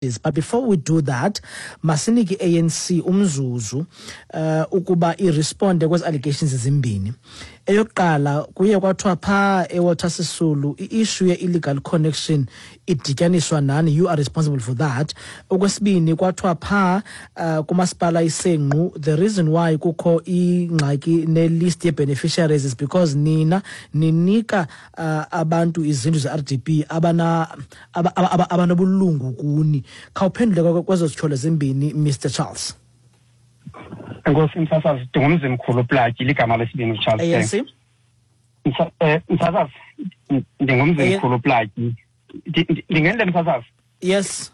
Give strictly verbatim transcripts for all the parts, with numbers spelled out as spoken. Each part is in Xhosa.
But before we do that, masinike i-A N C umzuzu uh, ukuba iresponde kwezi allegations ezimbini. Eyokuqala, kuye kwathiwa phaa eWalter Sisulu i-issue ye-illegal connection idityaniswa nani, you are responsible for that. Okwesibini, kwathiwa phaa uh, kumasipala iSenqu, the reason why kukho ingxaki ne-list ye-beneficiaries is because nina ninika uh, abantu izindlu ze-R D P abana aba- aba- aba- abanobulungu kuni. Khawuphendule kwezo zityholo zimbini, Mister Charles. Enkosi, msasazi. Ndingumzimkhulu Platyi, ligama lesibini uCharles. A N C. Msa- eh, msasazi, ndingumzimkhulu Platyi. Ndi- ndi- ndingenile msasazi? Yes,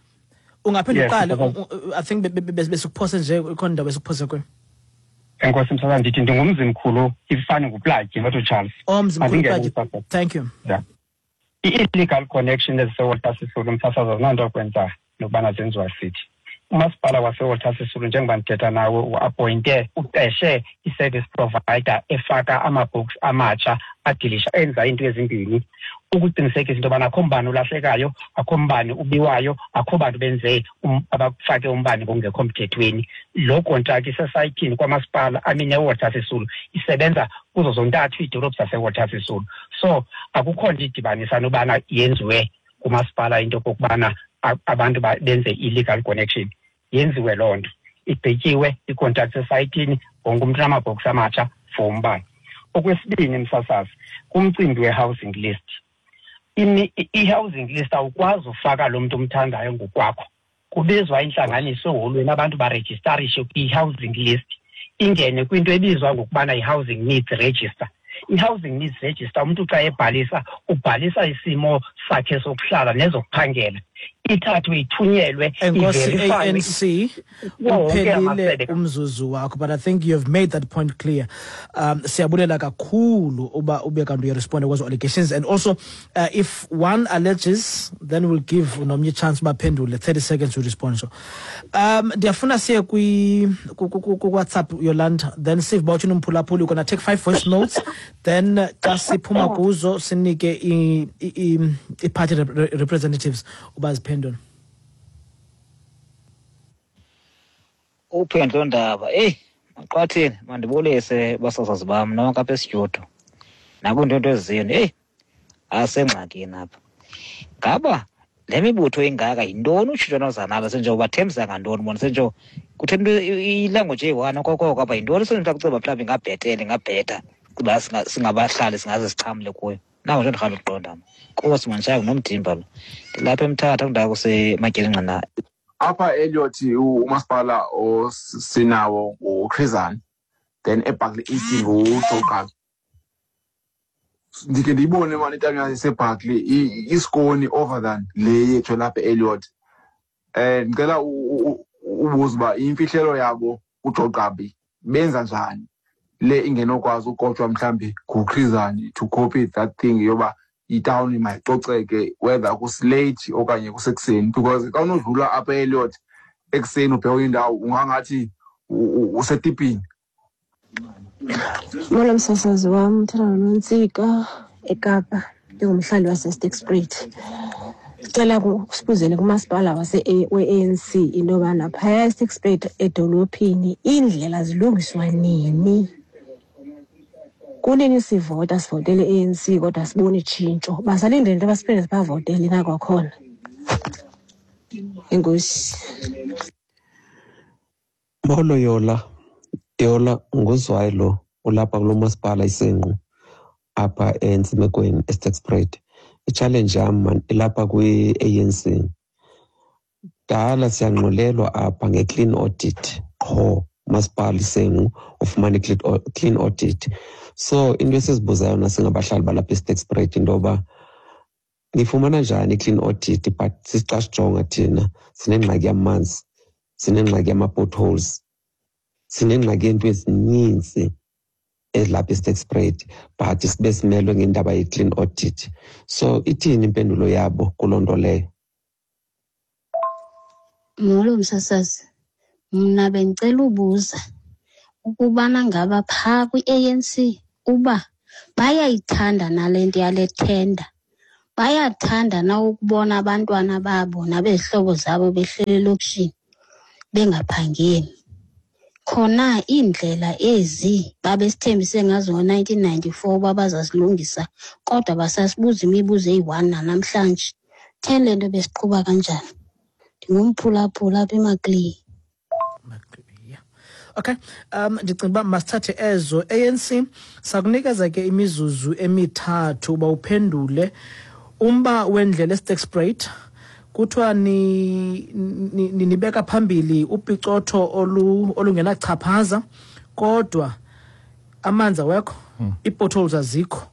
ungaphinde Yes, uqale. msasazi. u- u- i think be- be- be- besikuphose nje, ikhona indawo besikuphose kuyo. Enkosi, msasazi. Ndithi ndingumzimkhulu, ifani nguPlatyi, not uCharles. Oh, Mzimkhulu Mandingene, Platyi. msasazi. Thank you. Yeah. I-illegal connection eziseWalter Sisulu, msasazi, azinanto kwenza nokubana zenziwa sithi. Umasipala waseWalter Sisulu, njengoba ndithetha nawe, uappointe, uqeshe i-service provider efaka ama-box amatsha, adilisha, enza iinto ezimbini: ukuqinisekisa into yobana akho mbane ulahlekayo, akho mbane ubiwayo, akho bantu benze um, abafake umbane ngokungekho mthethweni. Loo kontraki isesayithini kwamasipala, I mean, eWalter Sisulu, isebenza kuzo zontathu iidolophu zaseWalter Sisulu. So akukho nto idibanisa nobana yenziwe kumasipala into okokubana a- abantu ba- benze illegal connection. Yenziwe loo nto, igqityiwe ikontrakt esayithini, wonke umntu unamabhoksi amatsha for umbane. Okwesibini, msasazi, kumcimbi we-housing list, imi- i- i-housing list awukwazi ufaka lo mntu umthandayo ngokwakho. Kubizwa intlanganiso eholweni, abantu barejistarishe kwi-housing list, ingene kwinto ebizwa ngokubana yi-housing needs register. I-housing needs register, umntu xa ebhalisa, ubhalisa isimo sakhe sokuhlala nezokuphangela, ithathwe ithunyelwe, Enkosi, iverifywe A N C. kuwo wonke Uphelile amasebe. umzuzu wakho, but I think you have made that point clear. um siyabulela kakhulu uba ube kanti uyaresponda kwezo allegations, and also uh, if one alleges, then we'll give nomnye chance baphendule, thirty seconds to respond. So um ndiyafuna siye kwi ku- ku- ku- ku-WhatsApp, Yolanda, then sive uba uthini umphulaphuli. We're gonna take five voice notes, then uh, xa siphuma kuzo sinike i- i- i- i-party rep- representatives uba ziphendule. Uphendlo ndaba, eyi maqwathini, mandibulise basasazi bam nonke apha estudio nakwinto ezini. Eyi, asengxakini apha. Ngaba le mibutho ingaka, yintoni utshintsho noza nalo? Senjengoba bathembisa ngantoni bona? Senjengo kuthe into ilanguage eyi-one okokoko apha, yintoni senje kuceba mhlawumbi ingabhetele, ingabhetha kuba singa- singabahlali singaze sixhamle kuyo? Nawo nje ndirhalela ukuqonda mna kuba simandishaya ngunomdimba lo. Ndilapha eMthatha, kundawo kusematyelingqina. Apha Elliot, u- umasipala osinawo nguChris Hani, then eBarkley East nguJoe Gqabi. Ndikhe ndiyibone mani itawuni yaseBarkley i- isikoni over than le yethu lapha e-Elliot. um ndicela u- u- u- ubuze uba imfihlelo yabo uJoe Gqabi benza njani le ingenokwazi ukotshwa mhlawumbi nguChris Hani, to copy that thing yoba itawuni mayicoceke, whether kusilate okanye kusekuseni, because xa unodlula apha e-Elliot ekuseni ubheka indawo, ungangathi u- u- usetipini. Molo msasazi wam, uthetha noNontsika eKapa, ndingumhlali waseSterkspruit. Sicela sibuzele kumasipala wase we-A N C into yobana phaya eSterkspruit edolophini iindlela zilungiswa nini? Kunini sivota, sivotele i-A N C, kodwa siboni tshintsho. Basalindele into yoba siphinde sibavotele na kwakhona? Enkosi. Molo Yola, Yola, nguZwayi lo ulapha kulo masipala iSenqu apha eNtsimekweni eSterkspruit. I-challenge yam man ilapha kwi-A N C. Dala siyangxolelwa apha nge-clean audit, qho umasipala iSenqu ufumana i-clean clean audit. So into esizibuza yona singabahlali balapha eSterkspruit, into yoba nifumana njani i-clean audit, but xa sijonga thina sinengxaki yamanzi, sinengxaki yama-potholes, sinengxaki yeento ezininzi ezilapha eSterkspruit, but sibe simelwe ngendaba ye-clean audit. So ithini impendulo yabo kuloo nto leyo? Molo msasazi, mna bendicela ubuza ukubana ngaba phaa kwi-A N C uba bayayithanda nale nto yale tender. Bayathanda na ukubona abantwana babo nabezihlobo zabo behleli elokishini bengaphangeli. Khona iindlela ezi babesithembise ngazo ngo-nineteen ninety-four uba bazazilungisa, kodwa basasibuza imibuzo eyi-one nanamhlanje. Theni le nto besiqhuba kanjani? Ndingumphulaphula apha eMaclear. Okay, um ndicinga uba masithathe ezo. A N C sakunikeza ke imizuzu emithathu uba uphendule umba wendlela eSterkspruit. Kuthiwa ni, ni, ni nibeka phambili upicotho olu olungenachaphaza, kodwa amanzi awekho, hmm. ii-potholes azikho.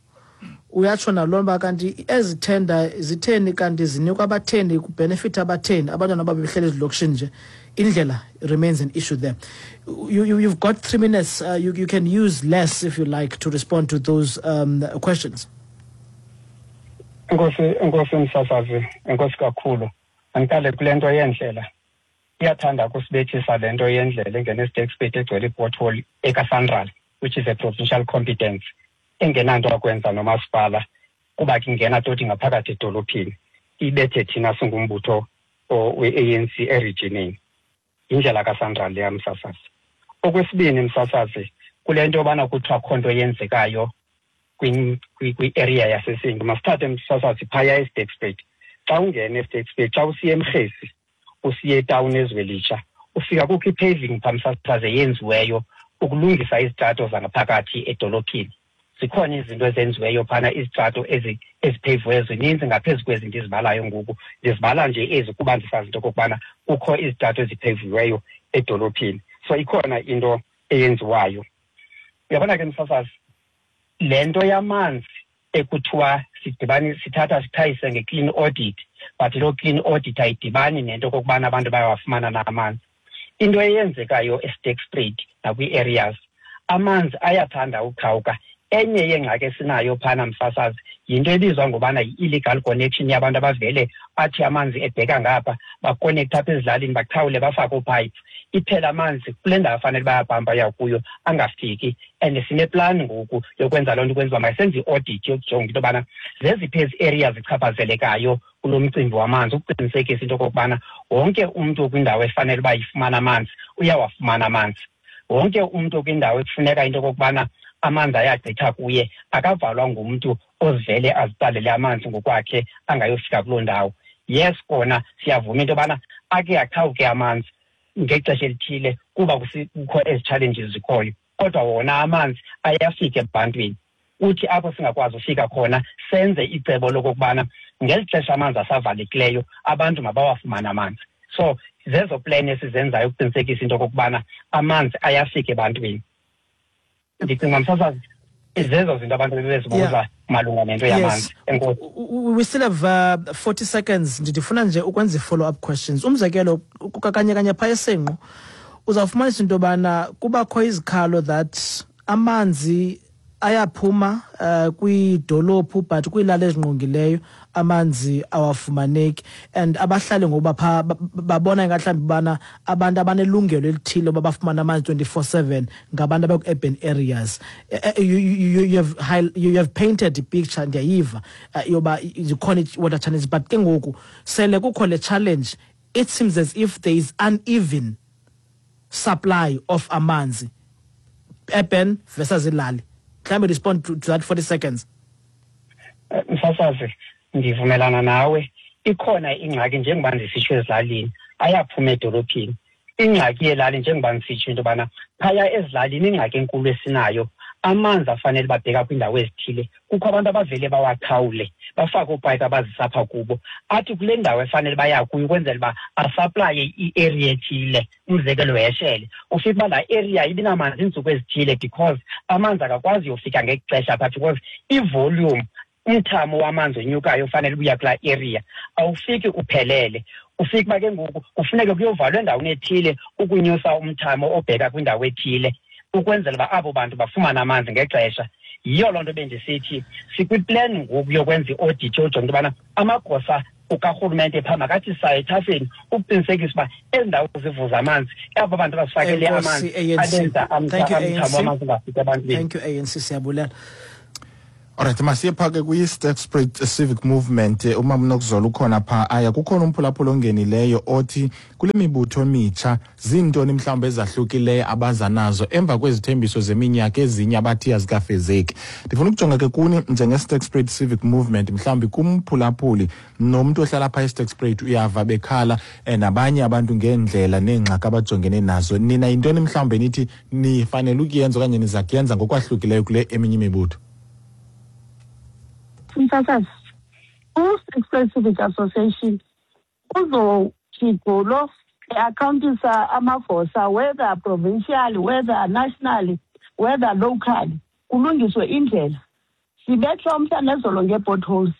Uyatsho naloo nto kanti ezi tender zitheni kanti zinikwa abatheni, kubenefit abatheni, abantwana babehleli ezilokishini nje. Indlela remains an issue there. You, you, you've got three minutes. Uh, you, you can use less if you like to respond to those um, questions. Enkosi, enkosi msasazi, enkosi kakhulu. Andiqale kule nto yendlela. Iyathanda ukusibethisa le nto yendlela engena eSterkspruit egcwele i-pothole ekaSANRAL, which is a provincial competence, engenanto akwenza nomasipala, kuba ke ingena toti ngaphakathi edolophini. Ibethe thina singumbutho we-A N C eregionini. Indlela kaSANRAL leya msasazi. Okwesibini msasazi, kule nto yobana kuthiwa akho nto yenzekayo kwi-area yaseSenqu. Masithathe msasazi phaya eSterkspruit. Xa ungena eSterkspruit, xa usiya eMrhesi, usiya etawuni eZwelitsha, ufika kukho i-paving phaa msasazi eyenziweyo ukulungisa izitrato zangaphakathi edolophini. Zikhona izinto ezenziweyo phana, izitrato ezipheviweyo zininzi ngaphezu kwezi ndizibalayo ngoku. Ndizibala nje ezi kuba ndisazi into okokubana kukho izitrato ezipheviweyo edolophini. So ikhona into eyenziwayo. Uyabona ke msasazi, le nto yamanzi ekuthiwa sidibani sithatha sithayise nge-clean audit, but loo clean audit ayidibani nento okokubana abantu bayawafumana na amanzi. Into eyenzekayo eSterkspruit nakwii-areas, amanzi ayathanda uqhawuka. Enye yeengxaki esinayo phana msasazi yinto ebizwa ngobana yi-illegal connection yabantu abavele athi amanzi ebheka ngapha, bakonektha apha ezilalini, baqhawule bafake oophayiphi. Iphela amanzi kule ndawo fanele bayabhamba ya kuyo angafiki. And sineplani ngoku yokwenza loo nto, ukwenza uba masenze i-audit yokujonga into yobana zeziphi ezi areas zichaphazelekayo kulo mcimbi wamanzi, ukuqinisekisa into okokubana wonke umntu okwindawo efanele uba ifumana amanzi uyawafumana amanzi. Wonke umntu okwindawo ekufuneka into okokubana amanzi ayagqitha kuye akavalwa ngumntu ozivele azitsalele amanzi ngokwakhe angayofika kuloo ndawo. Yes, kona siyavuma into yobana ake aqhawuke amanzi ngexesha elithile kuba kukho ezi challenges zikhoyo, kodwa wona amanzi ayafika ebantwini. Uthi apho singakwazi ufika khona senze icebo lokokubana ngeli xesha amanzi asavalekileyo abantu mabawafumane amanzi. So zezo plan esizenzayo ukuqinisekisa into okokubana amanzi ayafika ebantwini. Ndicinga msasazi zezo zinto abantu bebezibuza malunga nento yamanzi. Enkosi. We still have uh, forty seconds. Ndifuna nje ukwenza i-follow up questions. Umzekelo kanye kanye phaya eSenqu uzawufumanisa into yobana kubakho izikhalo that amanzi ayaphuma uh, kwidolophu but kwiilali ezingqongileyo amanzi awafumaneki, and abahlali ngoba pha babona ingahlawumbi bana abantu abanelungelo elithile uba bafumane amanzi twenty-four seven ngabantu abaku-urban areas. You, you, you, have, you have painted the picture, ndiyayiva yoba zikhona i-water challenges, but ke ngoku sele kukho le challenge, it seems as if there is uneven supply of amanzi, urban versus ilali. Can we respond to, to that forty seconds? Msasazi, ndivumelana nawe. Ikhona ingxaki njengoba ndisitsho ezilalini, ayaphuma edolophini. Ingxaki yelali njengoba ndisitsho into yobana phaya ezilalini ingxaki enkulu esinayo, amanzi afanele babheka kwiindawo ezithile. Kukho abantu abavele bawaqhawule, bafake oopayipi abazisa apha kubo, athi kule ndawo efanele baya kuyo ukwenzela uba asaplaye i-area ethile, umzekelo weshele. Ufike uba laa area ibinamanzi iintsuku ezithile because amanzi akakwazi uyofika ngexesha phaa because ivolume, umthamo wamanzi onyukayo ufanele ubuya kulaa area awufiki uphelele. Ufike uba ke ngoku kufuneke kuyovalwa endaweni ethile ukunyusa umthamo obheka kwindawo ethile ukwenzela uba abo bantu bafumane amanzi ngexesha. Yiyo loo nto bendisithi sikwiplan ngoku yokwenza i-audit yojonga into yobana amagosa karhulumente phaa makathi saye ethafeni ukuqinisekisa uba ezi ndawo zivuza amanzi, abo bantu basifakele amanzi abenza umthamo wamanzi ungafiki ebantwini. Thank you, A N C. Siyabulela. Alright, masiye pha ke kwi-Sterkspruit Civic Movement. Umama uNokuzola ukhona pha. Aya kukhona umphulaphula ongenileyo othi kule mibutho mitsha zintoni mhlawumbe ezahlukileyo abaza nazo emva kwezithembiso zeminyaka ezinye abathi azikafezeki. Ndifuna ukujonga ke kuni njenge-Sterkspruit Civic Movement, mhlawumbi kumphulaphuli nomntu ohlala pha eSterkspruit uyava bekhala eh, nabanye abantu ngeendlela neengxaki abajongene nazo. Nina yintoni mhlawumbe nithi nifanele ukuyenza okanye niza kuyenza ngokwahlukileyo kule eminye imibutho? Msasazi, u-Sterkspruit Civic Association uzojigulo e-accountisa amagosa, whether provincial, whether nationally, whether locally, kulungiswe indlela. Sibethwa umhla nezolo ngee-potholes.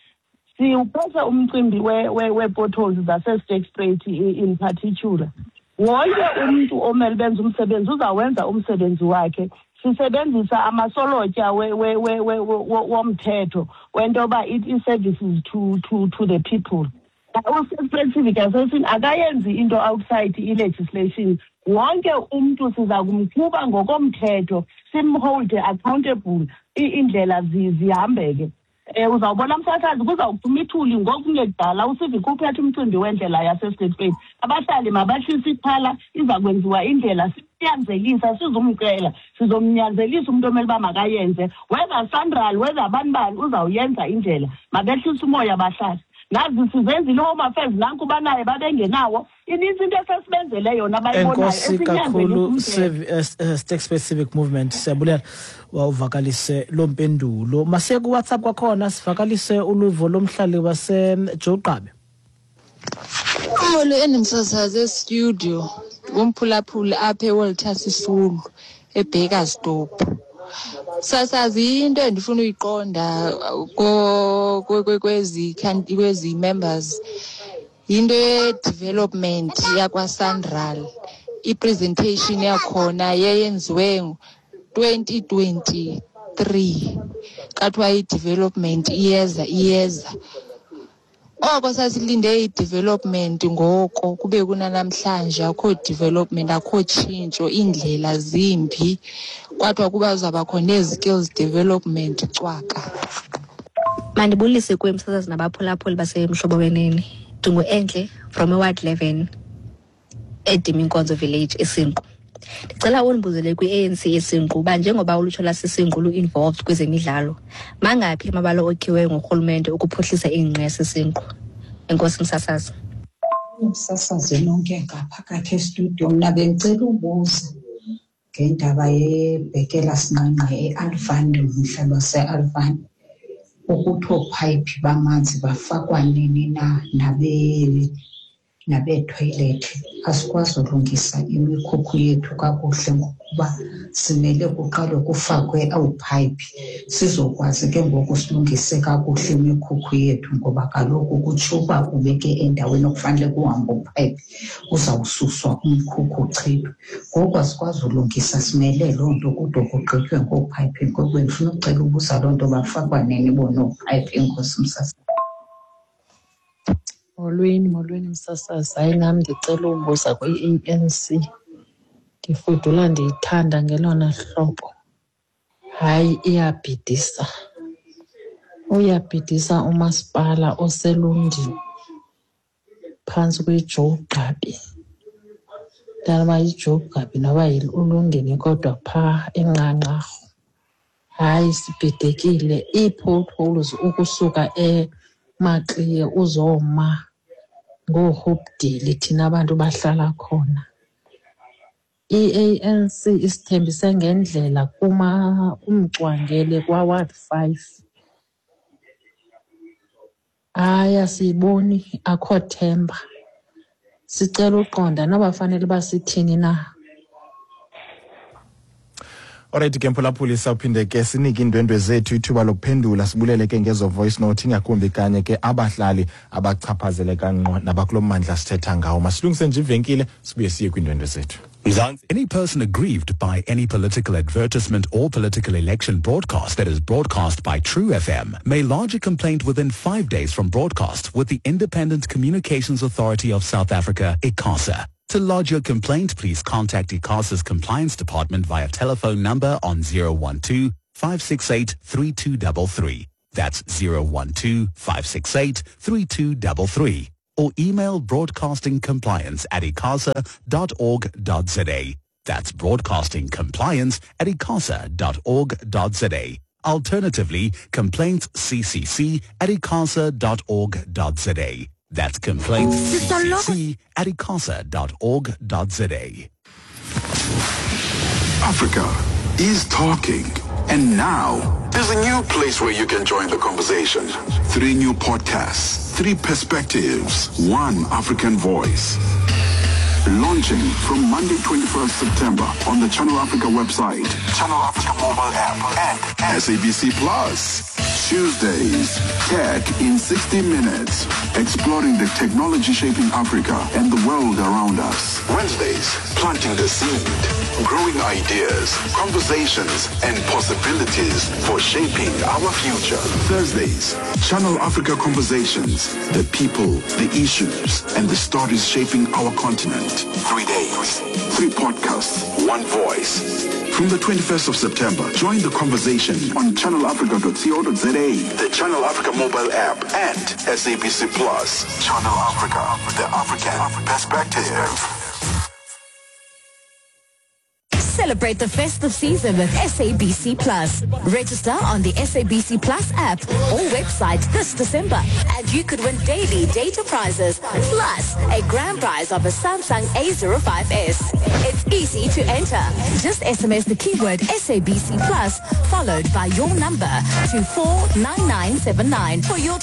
Siwuphethe umcimbi wee-potholes zaseSterkspruit in particular. Wonke umntu omele benze umsebenzi uzawenza umsebenzi wakhe. Sisebenzisa amasolotya womthetho wento yoba i-services to, to, to the people. U-Sterkspruit Civic Association akayenzi into outside i-legislation. Wonke umntu siza kumqhuba ngokomthetho, simholde accountable, iindlela zihambeke. Um uzawubona msasazi kuzawuphuma ithuli ngokungekudala uCivic uphethe umcimbi wendlela yaseSterkspruit. Abahlali mabahlise ixhala, iza kwenziwa indlela. Sinyanzelisa, sizumcela, sizomnyanzelisa umntu omele uba makayenze, whether SANRAL, whether bani bani, uzawuyenza indlela. Mabehlise umoya abahlali. Nazi sizenzile i-Home Affairs, nanku banaye babengenawo. Inintsi into esesibenzele yona abayibonayo. Enkosi kakhulu Sterkspruit Civic Movement, siyabulela wawuvakalise loo mpendulo. Masiye kuWhatsApp kwakhona sivakalise uluvo lomhlali waseJoe Gqabi. Molo enimsasazi estudio ngumphulaphuli apha eWalter Sisulu eBakersdorp. Sasazi into endifuna uyiqonda kwezi kwezi members into ye-development yakwaSANRAL. I-presentation yakhona yeyenziwe twenty twenty-three kathiwa i-development iyeza iyeza. Oko sasilinde i-development ngoko kube kunanamhlanje akho development, akho tshintsho, iindlela zimbi. Kwathiwa kuba kuzawubakho nee-skills development cwaka. Mandibulise kuwe msasazi nabaphulaphuli baseMhlobo Wenene. Ndingu-Entle from eWard eleven eDiminkonzo Village eSinqu. Ndicela undibuzele kwi-A N C eSinqu uba njengoba ulutsha lwaseSinqu lu-involved kwezemidlalo, mangaphi amabala okhiweyo ngurhulumente ukuphuhlisa ingqe yaseSinqu? Enkosi msasazi. Msasazi nonke ngaphakathi estudio, mna bendicela ubuza ngendaba yebhekela sinqanqa eAlfani, umhlaba waseAlfani, ukuthi oophayiphi bamanzi bafakwa nini na nabe nabethoyilethi. Asikwazi ulungisa imikhukhu yethu kakuhle ngokuba simele kuqale kufakwe oophayiphi sizokwazi ke ngoku silungise kakuhle imikhukhu yethu, ngoba kaloku kutsho uba ubeke endaweni okufanele kuhambe uphayiphi uzawususwa umkhukhu uchithwe. Ngoku asikwazi ulungisa, simele loo nto kude kugqitywe ngoophayiphi. Ngoku bendifuna ucela ubuza loo nto, bafakwa nini bona oophayiphi? Enkosi msasazi. Molweni, molweni msasazi. Hayi nam ndicela ubuza kwi-A N C. Ndifudula ndiyithanda ngelona hlobo. Hayi iyabhidisa. Uyabhidisa umasipala oseLundini phantsi kweJoe Gqabi. Ndanoba yiJoe Gqabi noba uLundini kodwa phaa eNqanqarhu. Hayi sibhidekile. Ii-potholes ukusuka eMaxie uzoma ngooHopedale thina abantu bahlala khona. I-A N C isithembise ngendlela kuma umcwangele kwaWard five. Hayi asiyiboni, akho themba. Sicela uqonda noba fanele uba sithini na. Alright ke mphulaphuli, sawuphinde ke sinike iindwendwe zethu ithuba lokuphendula, sibulele ke ngezo voice note, ingakumbi kanye ke abahlali abachaphazeleka ngqo nabakulo mmandla sithetha ngawo. Masilungise nje ivenkile sibuye siye kwiindwendwe zethu. Mzansi. Any person aggrieved by any political advertisement or political election broadcast that is broadcast by True F M may lodge a complaint within five days from broadcast with the Independent Communications Authority of South Africa, ICASA. To lodge your complaint, please contact ICASA's Compliance Department via telephone number on zero one two, five six eight, three two three three. That's zero one two, five six eight, three two three three. Or email broadcasting compliance at icasa dot org dot za. That's broadcasting compliance at icasa dot org dot za. Alternatively, complaints c c c at icasa dot org dot za. That's complaints c c c at icasa dot org dot za. Africa is talking. And now, there's a new place where you can join the conversation. Three new podcasts, three perspectives, one African voice. Launching from Monday twenty-first September on the Channel Africa website, Channel Africa mobile app, and S A B C Plus. Tuesdays, Tech in sixty minutes, exploring the technology shaping Africa and the world around us. Wednesdays, planting the seed, growing ideas, conversations, and possibilities for shaping our future. Thursdays, Channel Africa Conversations, the people, the issues, and the stories shaping our continent. Three days, three podcasts, one voice. From the twenty-first of September, join the conversation on channel africa dot co dot za, the Channel Africa mobile app, and S A B C Plus. Channel Africa, the African perspective. Celebrate the festive season with S A B C Plus. Register on the S A B C Plus app or website this December and you could win daily data prizes plus a grand prize of a Samsung A zero five S. It's easy to enter. Just S M S the keyword S A B C Plus followed by your number to four nine nine seven nine for your